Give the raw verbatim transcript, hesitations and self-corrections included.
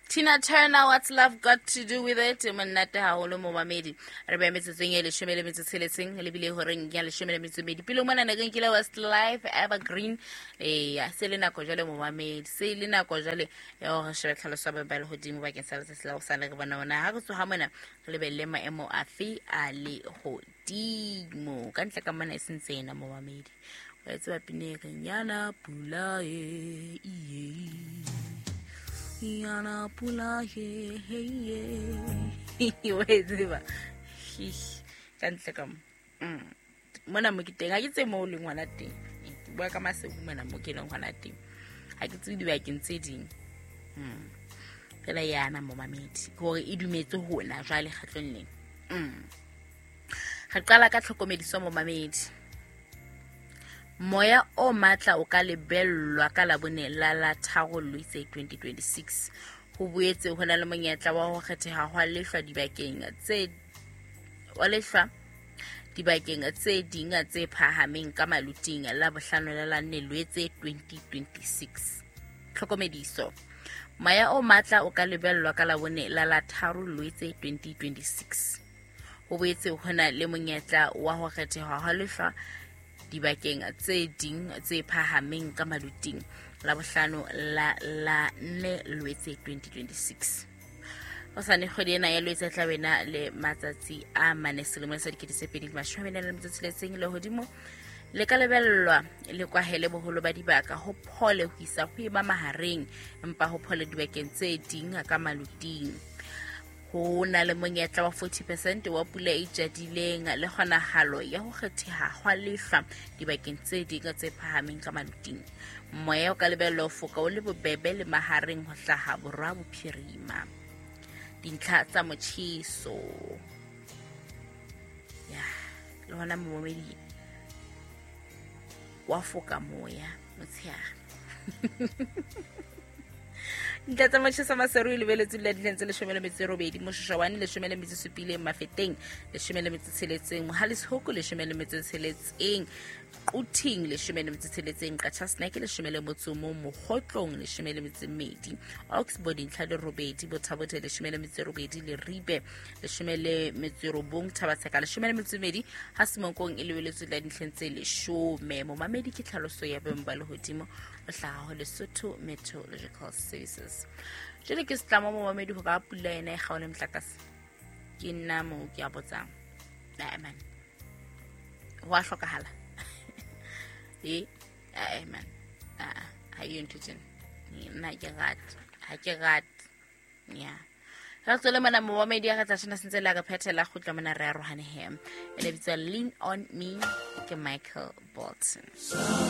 Tina Turner, What's Love Got to Do With It? Monate haholo, momamedi. Re beha metsotsong e leshome le metso tsheletseng, lebile horeng ya leshome le metso e medi. Pele mona ne re nkile Westlife, Evergreen. Eya, se le nako jwale, momamedi. Se le nako jwale ya hore re shebe tlhaloso ya ba lehodimo bakeng sa letsatsi la hosane, re bona hona ha re tsoha mona re lebelle maemo afe a lehodimo. Ka ntle ka mona e sentse ena, momamedi. Wa e tseba pina e reng yana pula e iye. Yana pula he he ye. Wa e tseba. Ka ntle ka mo. Mm. Mona mo ke teng, ha ke tsebe moo o leng hona teng. Ke bua ka Maseru mona mo ke leng hona teng. Ha ke tsebe dibakeng tse ding. Mm. Fela yana, momamedi. Ke hore e dumetse hona jwale kgetlong lena. Mm. Re qala ka tlhokomediso, momamedi. Moya o matla o ka lebellwa ka Labone la la tharo Lwetse twenty twenty-six. Ho boetse ho na le monyetla wa ho kgetheha hwa lehlwa dibakeng tse wa lehlwa dibakeng tse ding tse phahameng ka maluting la bohlano la la nne Lwetse twenty twenty-six. Tlhokomediso. Moya o matla o ka lebellwa ka Labone la la tharo Lwetse twenty twenty-six. Ho boetse ho na le monyetla wa ho kgetheha hwa lehlwa dibakeng tse ding tse phahameng ka maluting la bohlano la la nne Lwetse twenty twenty-six. Hosane kgwedi ena ya Lwetse tla bena le matsatsi a mane selemong sa dikete tse pedi le mashome a mane le metso tsheletseng. Lehodimo le ka lebellwa le kwahele boholo ba dibaka, ho phole ho isa ho eba mahareng, empa ho phole dibakeng tse ding ka maluting. Ho na le monyetla wa forty percent wa pula e jadileng le kgonahalo ya ho kgetheha hwa lehlwa dibakeng tse ding tse phahameng ka maluting. Moya o ka lebellwa ho foka o le bobebe le mahareng ho hlaha borwa bophirima. Dintlha tsa motjheso. Ya, le hona, momamedi, wa foka moya motshehare. Dintlha tsa motjheso: Maseru e lebeletswe la dintlheng tse leshome le metso e robedi, Moshoeshoane leshome le metso e supileng, Mafeteng leshome le metso e tsheletseng, Mohale's Hoek leshome le metso e tsheletseng, Quthing leshome le metso e tsheletseng, Qacha's Nek leshome le motso o mong, Mokhotlong leshome le metso e mmedi, Oxbow dintlha di robedi, Botha-Bothe leshome le metso e robedi, Leribe leshome le metso e robong, Thaba-Tseka leshome le metso e mmedi, ha Semonkong e lebeletswe la dintlheng tse leshome. Momamedi, ke tlhaloso ya boemo ba lehodimo o hlaha ho Lesotho Meteorological Services. Jwale ke setlamo, momamedi, hore a pula ena e kgaole motlakase? Ke nna moo ke a botsang. Ae man, ho a hlokahala e ae man, aa ha eyo ntho tsena, nna ha ke rate, ha ke rate ya. Re tswele mona, momamedi, ya re tla tshwana sentse le re phethela kgutla mona re arohane he. E le bitswa Lean On Me ke Michael Bolton.